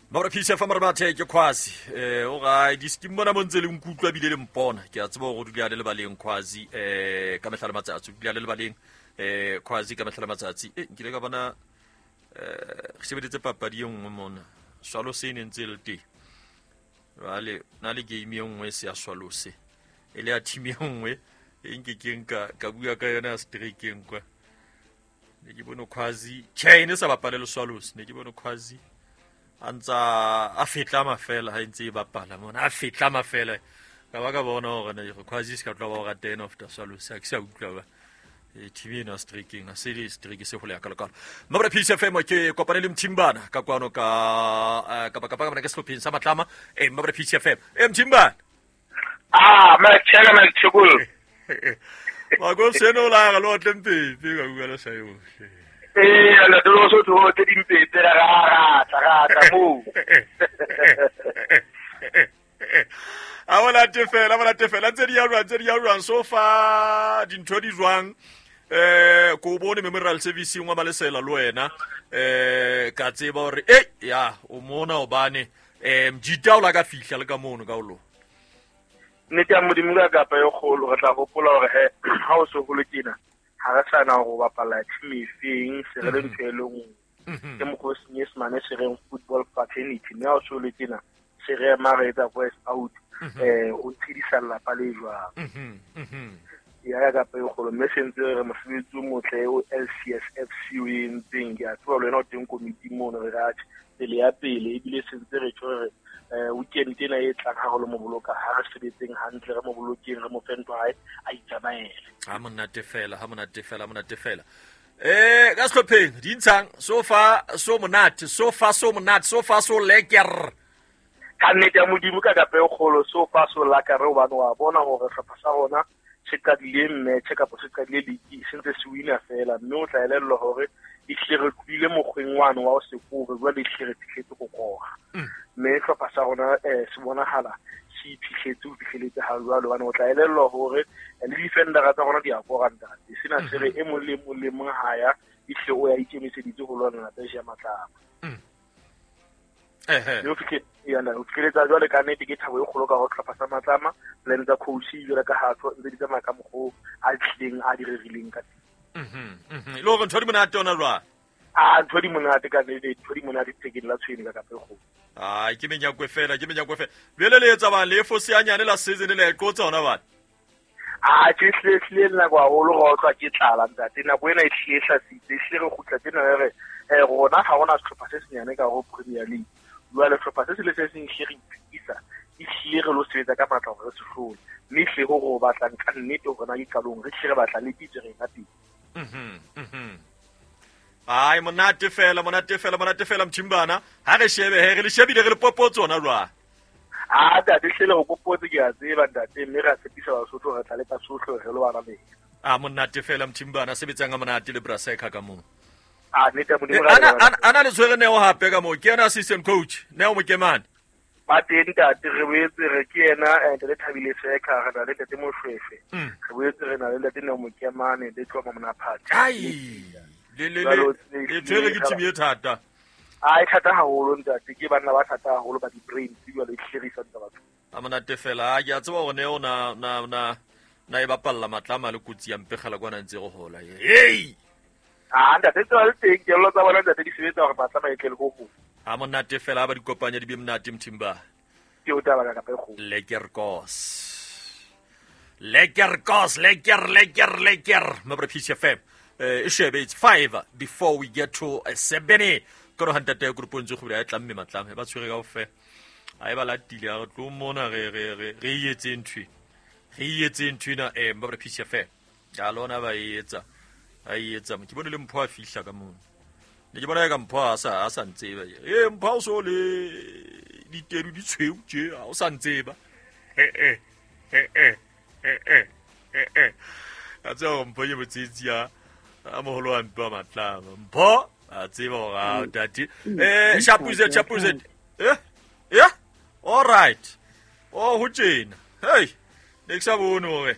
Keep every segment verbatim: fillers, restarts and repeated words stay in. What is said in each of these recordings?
Mabra P C F Marmathe ke Khwazi eh o ga di skimmona mo ntse le nkutlwa bile le mpona ke a tseba go dula le lebaleng Khwazi eh ka mehla le matsatsi dula le lebaleng eh Khwazi ka mehla le matsatsi eh nkile ka bona eh re sebeditse papadi e nngwe mona Swallow se ne ntse le teng jwale na le game e nngwe se ya Swallow se e le ya team e nngwe e nke ke nka ka bua ka yona ya strikeng kwa ne ke bone Khwazi che ne sa bapale le Swallows ne ke bone Khwazi a ntsa a fetla mafela ha ntse e bapala mona a fetla mafela ka ba ka bona hore ne Khwazi se ka tloha ba o rata ena after Swallows a ke sa utlwa ba e T V ena striking a se le strike se hole ya kalokalo. Mabra P C F M ke kopane le Mthimbana ka kwano ka ka ka ka ka sehlopheng sa Matlama eh Mabra P C F M eh Mthimbana ah ma tshela ma tshukul ma go seno la ga lo tlempepe ka bua le sa yo eh la dolo so tho tse dimpepe ra ra ra ra mo a bona tefela bona tefela tse di ya jwang tse di ya jwang so fa dintho di jwang eh ko bone memorial service ngwa Malesela le wena eh ka tseba hore eh ya o mona obane eh mjita o la ka fihla le ka mono ka o lo nnete ya Modimo ka kapa e kgolo re tla hopola hore he ha o so holo kena ha re sana go bapala team efeng se re le ntho e le nngwe ke mokgwa o Senyesemane se reng football fraternity mme ha o so le tena se re ema re etsa voice out eh o tshedisa lelapa le jwang ya ka kapa e kgolo mme se ntse re mosebetsi o motle o L C S F C o entseng ke a tseba le wena o teng komiti mono re ratjhe pele ya pele ebile se ntse re tjho re eh weekend ena e tlang ha re lo mo boloka ha re sebetseng hantle re mo bolokeng re mo fe ntho hae a itsamaele ha monate fela ha monate fela ha monate fela eh ka sehlopheng di ntshang so far so monate so far so monate so far so lekker ka nnete ya Modimo ka kapa e kgolo so far so lekker hobane wa bona hore sehlopha sa rona se qadile match kapa se qadile league se ntse se wina fela mme o tla elellwa hore e hle re tlohile mokgweng wane wa ho se kore jwale e hle re fihletse go kora mme sehlopha sa rona eh se bonahala se iphihletse ho fihleletse ha jwale hobane o tla elellwa hore le defendera tsa rona di a kora ntate sena se re e mong le mong le mong ha ya e hle o ya ikemiseditse ho lwana le ya Matlama ehe yo fihle yana o fihletse jwale ka nnete ke thabo e kgolo ka ho sehlopha sa Matlama plan tsa coach jwale ka ha tso ntse di tsamaya ka mokgo a tlileng a di rerileng ka teng. Mhm mhm le hore ntho di monate ona jwang a ntho di monate ka nnete ntho di monate thekeng la tshwene ka kapa e kgolo ai ke menyakwe fela ke menyakwe fela bjale le etsa bang le fose ya nyane la season le e qotsa hona bana a ke hle hle nako haholo ra utlwa ke tlala ntate nako ena e hle hlasitse e hle re kgutla tjena re re eh rona ha hona sehlopha se senyane ka ho Premier League jwale sehlopha se se le se seng hle re iphikisa e hle re lo sebetsa ka matla hore re se hlole mme hle ho re o batlang ka nnete hore na ke qalong re hle re batla le pitso re ka pele. Mhm mhm ai monate fela monate fela monate fela Mthimbana ha re shebe he re le shebile re le popotso ona jwang a ntate hle le go popotse ke a tseba ntate mme re a tshepisa Basotho re tla leka sohle re lo bana le a monate fela Mthimbana sebetsang ka monate le Braseka ka moo a nnete ya Modimo ana ana le tshwere Neo hape ka moo ke yena assistant coach Neo Mokemane ba teng ntate re boetse re ke yena ntate Thabile Seka re na le ntate Moshweshwe re boetse re na le ntate Neo Mokemane le Tloma Monaphathi ai le le le tshwere ke team e thata a e thata haholo ntate ke banna ba thata haholo ba di-brain jwale e hlerisa ntsa batho a monate fela ke a tseba hore Neo na na na na e bapalla Matlama le kotsi ya mpegela kwana ntse go hola hey a ntate tsela le teng kelello tsa bona ntate di sebetsa hore Matlama e tle le ho ho a monate fela ba di kopanya di be monate Mthimba ke o taba ka kapa e kgolo lekker kos lekker kos lekker lekker lekker Mabra P C F M eh e shebe it's five before we get to seven koro hantate group ntse go bula e tlamme Matlama ba tshwere ka ofe a e ba latile a re tlo mona re re re re etse ntwe re etse ntwe na eh Mabra P C F M ya lona ba etsa a etsa ke bone le Mpho a fihla ka mono ne ke bona ka Mpho a sa a sa ntseba e Mpho o so le ditedu di tshweu tje a o sa ntseba eh eh eh eh eh eh eh a tseba Mpho ye botsetsi ya a moholo wa Mpho Matlama Mpho a tseba hore a tate eh Chapuze Chapuze eh yeah all right oh ho tjena hey ne ke sa bone hore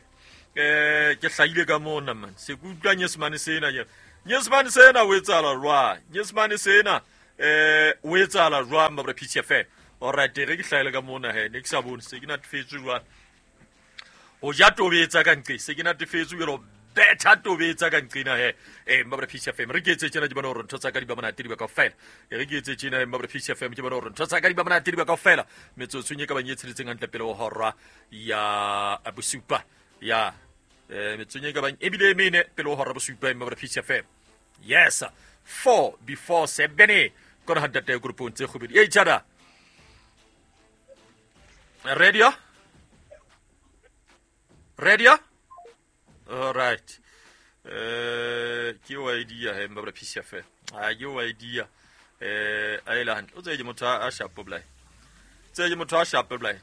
eh ke hlahile ka mona man se ke utlwa Nyesemane sena ke Nyesemane sena o etsahala jwang Nyesemane sena eh o etsahala jwang mabra P C F M. All right, re ke hlaele ka mona he ne ke sa bone se ke natefetswe jwang ho ja tobetsa ka nqe se ke natefetswe jalo betha tobetsa ka nqena he eh mabra P C F M re ke etse tjena ke bona hore ntho tsa ka di ba monate di ba kaofela e re ke etse tjena mabra P C F M ke bona hore ntho tsa ka di ba monate di ba kaofela metsotsong e ka bang e tsheletseng hantle pele ho hora ya bosupa ya eh metsotsong e ka bang ebile mene pele ho hora bosupa mabra P C F M. Yes, four before seven kona hantate groupong tse kgobedi e tjada radio radio. All right. Eh ke o idea he mbabra P C F. Ah ke o idea. Eh a ela hantle. O tse ke motho a sharp blai. Tse ke motho a sharp blai.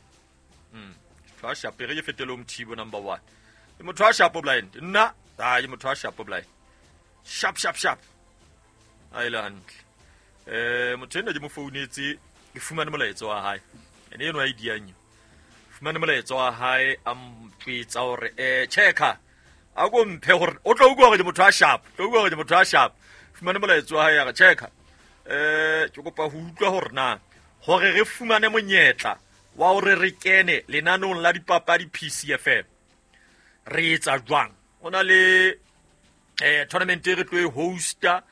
Mm. Motho a sharp re ke fetele Mthibo number one. Ke motho a sharp blind. Nna ah ke motho a sharp blind. Sharp sharp sharp. A ela hantle. Eh motho ena ke mo founetse ke fumane molaetsa wa hae. Ene eno idea nyo. Fumane molaetsa wa hae a mpitsa hore eh checka a go mphe hore o tlo utlwa hore ke motho a sharp tlo utlwa hore ke motho a sharp fumane molaetsa wa hae ya re checka eh ke kopa ho utlwa hore na hore re fumane monyetla wa hore re kene lenanong la dipapadi P C F M re etsa jwang o na le eh tournament e re tlo e hosta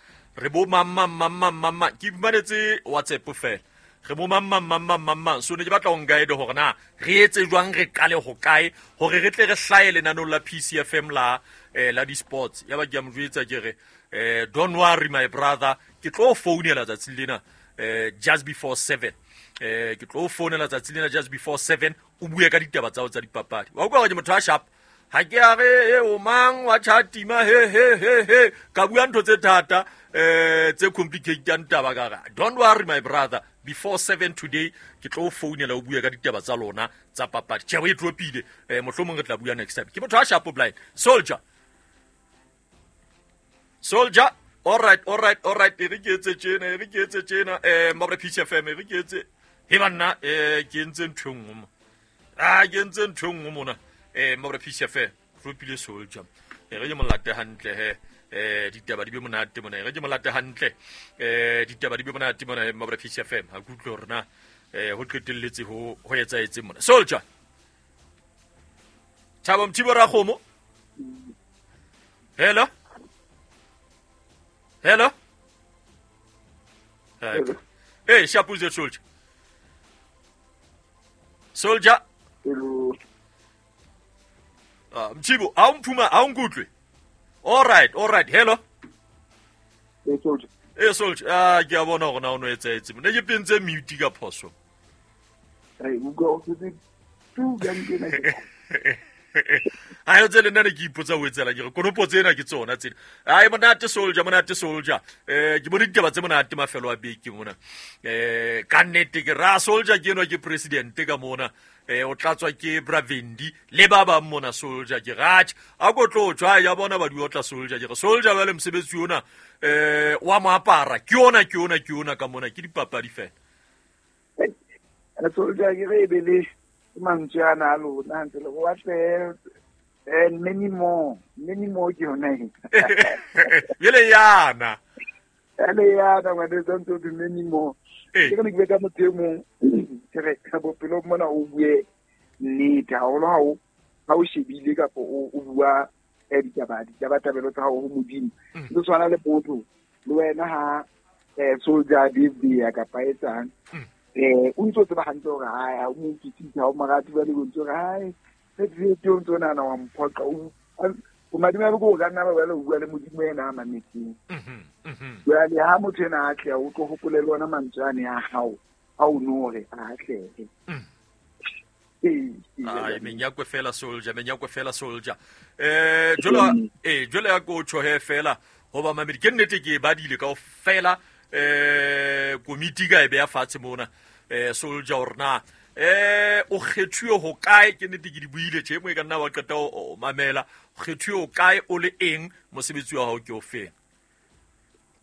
re bo mamma mamma mamma ke fumanetse WhatsApp fela re bo mamma mamma mamma so ne ke batla ho guide hore na re etse jwang re qale ho kae hore re tle re hlahe lenanong la P C F M la eh, la di sports ya ba ke a mo jwetsa ke re eh, don't worry my brother ke tlo founela tsatsi lena eh, just before seven eh, ke tlo founela tsatsi lena just before seven o bue ka ditaba tsa tsa dipapadi wa utlwa hore ke motho a sharp ha ke a re e o mang wa chatima he he he he ka bua ntho tse thata eh tse complicated taba ka re don't worry my brother before seven today ke tlo founela o bua ka ditaba tsa lona tsa papadi tjhe o e dropile eh mohlomong re tla bua next time ke motho a sharp blind soldier soldier all right all right all right re ke etse tjena re ke etse tjena eh mabra P C F M re ke etse he banna eh ke entse ntho nngwe mo ah ke entse ntho nngwe mona eh mabra P C F M dropile soldier e re ke molate hantle he eh ditaba di be monate mona re ke molate hantle eh ditaba di be monate mona mabra P C F M ha ke utlwe hore na eh ho qetelletse ho ho etsaetse mona soldier Thabo Mthibo Rakgomo hello hello eh shapuze soldier soldier hello ah Mthibo ha o mphuma ha o nkutlwe. All right, all right. Hello. Eh soldier. Eh soldier, ah ke a bona hore na o no etsaetse. Ne ke pentse mute ka phoso. Ai ugo o tse tu ga nkena ke. Ai o tsele nna ne ke ipotsa o etsela ke re konopo tsena ke tsona tsena. Ai monate soldier, monate soldier. Eh ke bone ditaba tse monate mafelo a beke mona. Eh ka nnete ke ra soldier ke enwa ke president ka mona. Eh o tlatswa ke Bravendi le ba bang mona soldier ke ratjha a go tlo tswa ya bona ba di otla soldier ke re soldier ba le mosebetsi ona eh wa mo apara ke ona ke ona ke ona ka mona ke dipapadi fela eh soldier ke re be le mantswe ana a lona ntse le wa tle and many more many more ke yona e yele yana ele yana wa de don't do many more ke re ke ka motho e mong ke re bophelo mona o bue nnete haholo ha o ha o shebile kapa o bua ditaba ditabatabelo tsa hao ho Modimo le tshwana le motho le wena ha eh soldier David kapa etsang eh o ntso tseba hantle hore ha o mo utlwisise ha o morati ba le ntso hore hai se o ntso nana wa mphoqa o o madima ba go ka nna ba le bua le Modimo ena a mametseng jwale ha motho ena a tle o tlo hopole le ona mantswe ane a hao a o nore a atlehe ai menyakwe fela soldier menyakwe fela soldier eh jolo eh jolo ya go tsho he fela ho ba mamedi ke nnete ke badile ka fela eh komiti ka e beya fatshe mona eh soldier hore na eh o kgethuwe ho kae ke nnete ke di buile tje mo e ka nna wa qeta o mamela o kgethuwe ho kae o le eng mosebetsi wa hao ke o feng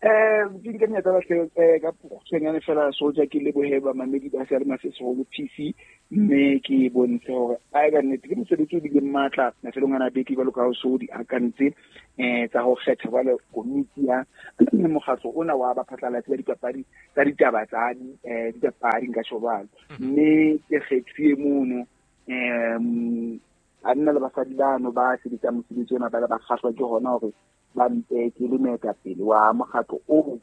Eh ke nke monyetla hle ka kgutshwanyane fela Soldier, ke lebohe bamamedi ba seyalemoya se seholo P C, mme ke bontshe hore a ka nnete ke mosebetsi o bileng matla mafelong ana a beke jwalo ka ha o so di akantse eh tsa ho kgetha jwale komiti ya mokgatlo ona wa baphatlalatsi ba dipapadi tsa ditaba tsa eh dipapadi nka tjho jwalo. Mme ke kgethuwe mono um banna le basadi bano ba sebetsang mosebetsi ona ba le ba kgahlwa ke hona hore ba mpe ke le moetapele wa mokgatlo oo,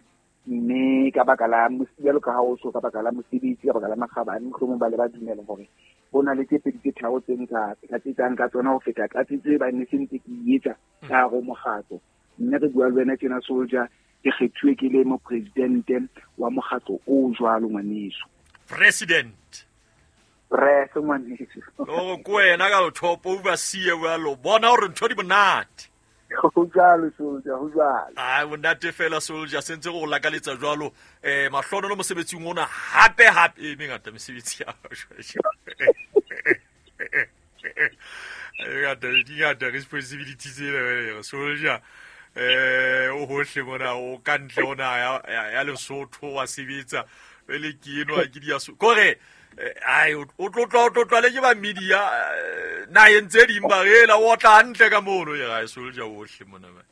mme ka baka la jwalo ka ha o so ka baka la mosebetsi, ka baka la makgabane, mohlomong ba le ba dumela hore ho na le tse pedi tse tharo tse nka tlatsetsang ka tsona ho feta tlatsetso e ba ne se ntse ke e etsa ka hare ho mokgatlo. Mme re bua le wena tjena Soldier, ke kgethuwe ke le mopresidente wa mokgatlo o jwalo ngwaneso. President Press ngwaneso. O ko wena ka lothopo overseer jwalo, bona hore ntho di monate. Ho jwalo Soldier, ho jwalo. Ai monate fela Soldier, sentse go lakaletsa jwalo eh mahlono mosebetsing ona hape hape e mengata mesebetsi ya e ngata di ngata responsibilities tsena Soldier. Eh o hohle mona o ka ntle ona ya ya Lesotho wa sebetsa pele ke enwa ke di ya kore ai o tlotla o tlotla le ke ba media na entse ding ba rela o tla hantle ka mono ya ga Soldier ohle mona ba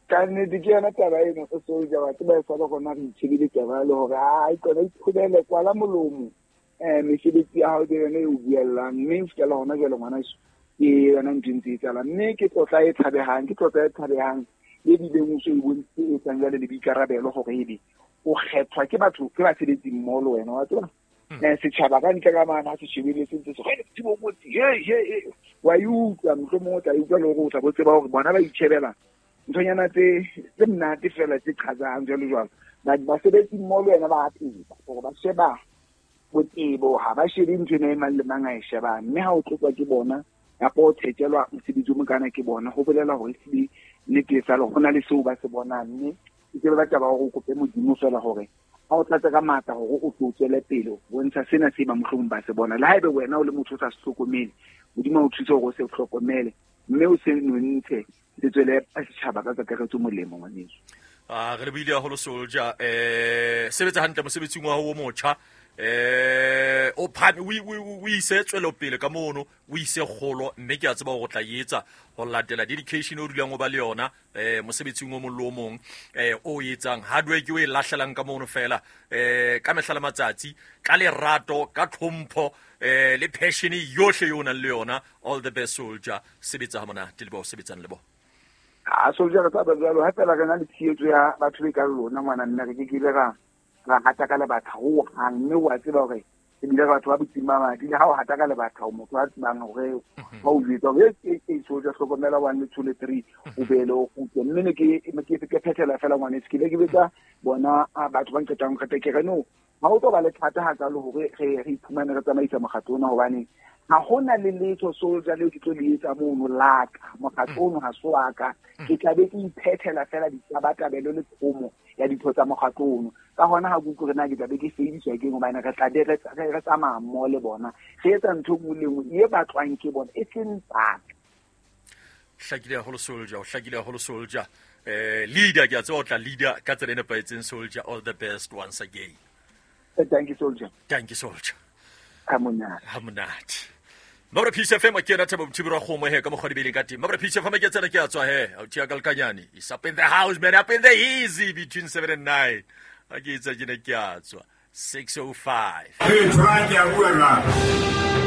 ka nnete ke yona taba eno o Soldier wa tseba e sa le rona re itshebile taba le hore ai tsona iphulele kwala molomo eh mesebetsi ya hao ke yona e o buellang, mme o fihlella hona jwale ngwana ke yona ntho e ntse e etsahala. Mme ke tlotla e tshabehang, ke tlotla e tshabehang e bileng o so e bontshitse e etsang jwale le boikarabelo hore ebe o kgethwa ke batho ke basebetsi mmoho le wena wa tseba. Eh setjhaba ka ntle ka mane ha se shebile se ntse se re Thibo Motsi he he wa e utlwa, mohlomong o tla e utlwa le hore o tla bo tseba hore bona ba itjhebela nthonyana tse tse monate fela tse qhatsang jwalo jwalo. Basebetsi mmoho le wena ba a tseba hore ba sheba botebo, ha ba shebe ntho ena e mang le mang a e shebang, mme ha o tlotlwa ke bona kapa o thetjelwa mosebetsi o mokana ke bona, ho bolela hore ehlile nnete e sale ho na le seo ba se bonang. Mme ke tsebe ba taba hore o kope Modimo fela hore ha o tlatse ka matla hore o tlo tswele pele ho bontsha sena se ba mohlomong ba se bona. Le haebe wena o le motho o sa se hlokomele, Modimo o thuse hore o se hlokomele mme o se nontshe se tswele setjhaba ka kakaretso molemo ngwaneso. Ah re lebile haholo Soldier, eh sebetsa hantle mosebetsing wa hao o motjha, eh o phame o ise tswelopele ka mono, o ise kgolo, mme ke a tseba hore o tla etsa ho latela dedication o dulang o ba le yona eh mosebetsing o mong le o mong eh o etsang hard work o e lahlelang ka mono fela eh ka mehla le matsatsi ka lerato ka tlhompho eh le passion yohle yo nang le yona. All the best Soldier, sebetsa ha monate le ba o sebetsang le bona. A Soldier re tla ba jwalo ha fela re na le tshehetso ya batho be ka lona ngwana nna re ke ke ile ra ra hata ka lebatha ho hang, mme wa tseba hore ebile batho ba botsing ba madi le ha o hata ka lebatha o motho a tsebang hore ba o jwetsa hore e e Soldier hlokomela one le two le three o bele o kgutle. Mme ne ke ke ke phethela fela ngwaneso, ke ile ke betsa bona batho ba nqetang qete ke re no ha o tlo ba le thata hakalo hore re re iphumane re tsamaisa mokgatlo ona, hobane ha hona le letho Soldier leo ke tlo le etsa mono laka mokgatlo ono ha se wa ka, ke tla be ke iphethela fela ditabatabelo le thomo ya ditho tsa mokgatlo ono. Ka hona ha ke utlwe hore na ke tla be ke feediswa keng, hobane re tla be re tsamaya mmoho le bona, re etsa ntho e nngwe le nngwe e batlwang ke bona e seng tsaka. Hlakile haholo Soldier, o hlakile haholo Soldier. Eh leader ke a tseba o tla leader ka tsela e nepahetseng Soldier. All the best once again. Thank you Soldier. Thank you Soldier. Ha monate. Ha monate. Mabra Peace F M ke yena Thabo Mothibi wa kgomo he ka mokgwa dibeleng ka teng. Mabra Peace F M ke tsena ke a tswa he. Authi ya Kalkanyane. It's up in the house man, up in the easy between seven and nine. Ha ke etsa ke ne ke a tswa six oh five. Hey, try ke a bua jwang.